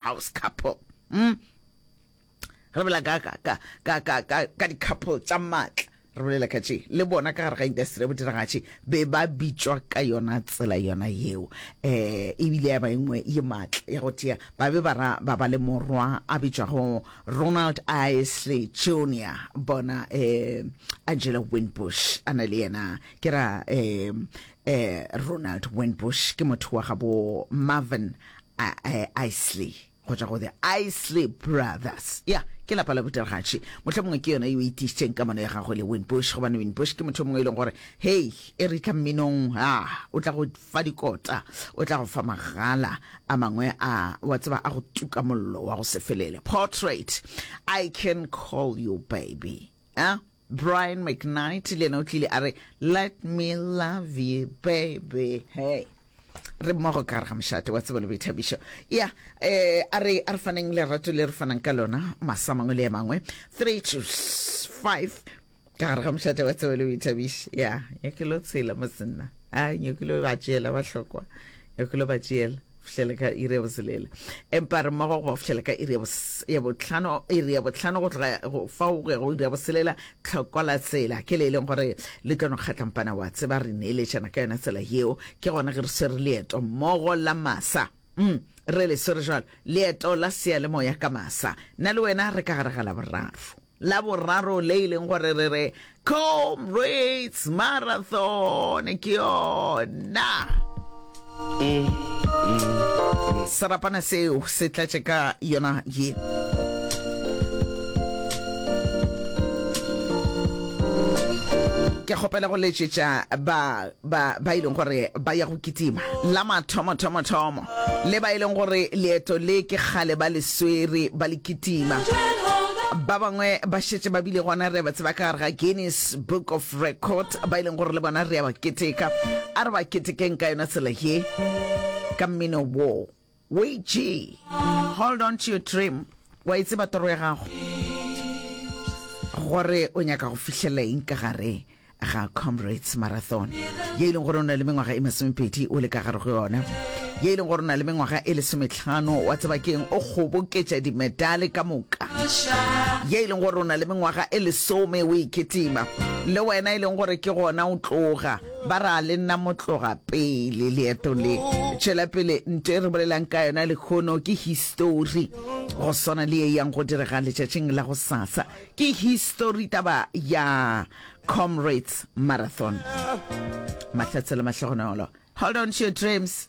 House couple. Mm. Re bolela ka ka ka ka ka ka ka di-couple tša maatla. Re bolela ka tše le bona ka gare ga industry ya bodiragatši be ba bitšwa ka yona tsela yona yeo. Eh ebile ya ba engwe ye maatla ya go tia ba be ba ra ba ba le morwa a bitšwago Ronald Isley Jr. Bona eh Angela Winbush a na le yena ke ra eh eh Ronald Winbush ke motho wa gabo Marvin Isley go tšwa go The Isley Brothers. Ya, ke lapa la bodiragatši. Mohlomongwe ke yona yeo e tiišitšeng kamano ya gagwe le Winbush, gobane Winbush ke motho yo mongwe e leng gore, hei, e re tla mminong, ah, o tla go fa dikota, o tla go fa magala a mangwe a, wa tseba, a go tuka mollo wa go se felele. Portrait, I can call you baby. Ah, Brian McKnight le yena o tlile a re, Let me love you baby. Hey. Re mmogo ka gare ga mošate wa tsebo le boithabišo. Ya, eh, a re, a re faneng lerato le re fanang ka lona masa mangwe le a mangwe. 3 to 5 ka gare ga mošate wa tsebo le boithabišo. Ya, ya ke lo tshela mo senna. A, nyoko lo ba tšeela ba hlokwa. Nyoko lo ba tšeela. Fihlela ka iri ya boselela. Empa re mmogo go fihlela ka iri ya bohlano, iri ya bohlano go tloga go fao go ya go iri ya boselela, tlhoko la tsela ke le e leng gore le tlo no kgatlampana wa tseba re neeletšana ka yona tsela yeo. Ke gona ge re swere leeto mmogo la masa. Mm, re le swere jwalo, leeto la seyalemoya ka masa. Nna le wena re ka gare ga Laboraro. Laboraro le e leng gore re re Comrades Marathon ke yona. Serapana seo se tlatše ka yona ye. Ke kgopela go letšetša ba ba ba e leng gore ba ya go kitima la mathomo thomo thomo le ba e leng gore leeto le ke kgale ba le swere ba le kitima. Ba bangwe ba šetše ba bile gona re ba tseba ka gare ga Guinness Book of Record ba e leng gore le bona re ya ba keteka. A re ba ketekeng ka yona tsela ye ka mmino wo. WG, Hold on to your dream. Wa e tseba toro ya gago gore o nyaka go fihlelela eng ka gare ga Comrades Marathon ye e leng gore o na le mengwaga e masomepedi o le ka gare go yona ye e leng gore o na le mengwaga e lesometlhano wa tseba keng o kgoboketša dimedale ka moka ye e leng gore o na le mengwaga e lesome o iketima le wena e leng gore ke gona o tloga ba ra le nna motloga pele leeto le tšwela pele nto e re bolelang ka yona lekgono ke histori go swana le ye yang go direga letšatšing la go sasa Ke histori taba ya Comrades Marathon. Mahlatse le mahlogonolo. Hold on to your dreams.